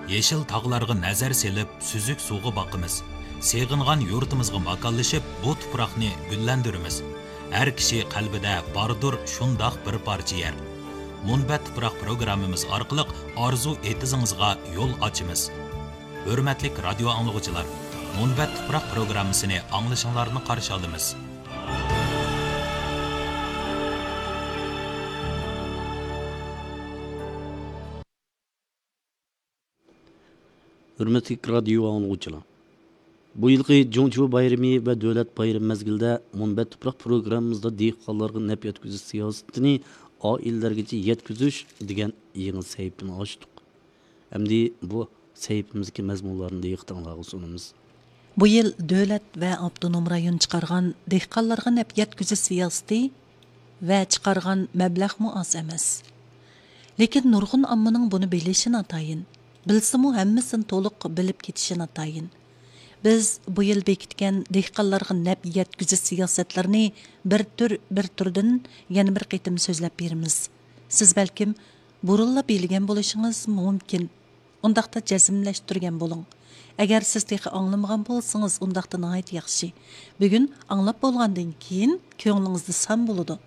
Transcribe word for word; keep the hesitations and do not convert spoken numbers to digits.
يېشىل تاغلارغا نەزەر سېلىپ، سۈزۈك سۇغا باقىمىز. سېغىنغان يۇرتىمىزغا ماكانلىشىپ، بۇ تۇپراقنى گۈللەندۈرىمىز. ھەر كىشى قەلبىدە باردۇر شۇنداق بىر پارچە يەر. مۇنبەت تۇپراق پروگراممىمىز ئارقىلىق ئارزۇ ئېتىزىڭىزغا يول ئاچىمىز. ھۆرمەتلىك رادىيو ئاڭلىغۇچىلار، مۇنبەت تۇپراق پروگراممىسىنى ئاڭلىشىڭلارنى قارشى ئالىمىز. ھۆرمەتلىك رادىيو ئاڭلىغۇچىلار! بۇ يىلقى جۇڭچۇ بايرىمى ۋە دۆلەت بايرىمى مەزگىلىدە مۇنبەت تۇپراق پروگراممىمىزدا دېھقانلارغا نەپ يەتكۈزۈش سىياسىتىنى ئائىلىلەرگىچە يەتكۈزۈش دېگەن يېڭى سەھىپىنى ئاچتۇق. ئەمدى بۇ سەھىپىمىزدىكى مەزمۇنلارنى دىققىتىڭلارغا سۇنىمىز. بۇ يىل دۆلەت ۋە ئاپتونوم رايون چىقارغان دېھقانلارغا نەپ يەتكۈزۈش سىياسىتى ۋە چىقارغان مەبلەغمۇ ئاز ئەمەس. لېكىن نۇرغۇن ئاممىنىڭ بۇنى بىلىشى ناتايىن، بىلسىمۇ ھەممىسىنى تولۇق بىلىپ كېتىشى ناتايىن. بىز بۇ يىل بېكىتكەن دېھقانلارغا نەپ يەتكۈزۈش سىياسەتلىرىنى بىر تۈر، بىر تۈردىن يەنە بىر قېتىم سۆزلەپ بېرىمىز. سىز بەلكىم بۇرۇنلا بىلگەن بولۇشىڭىز مۇمكىن. ئۇنداقتا جەزملەشتۈرگەن بولۇڭ. ئەگەر سىز تېخى ئاڭلىمىغان بولسىڭىز، ئۇنداقتا ناھايىتى ياخشى. بۈگۈن ئاڭلاپ بولغاندىن كېيىن كۆڭلىڭىزدە سان بولىدۇ.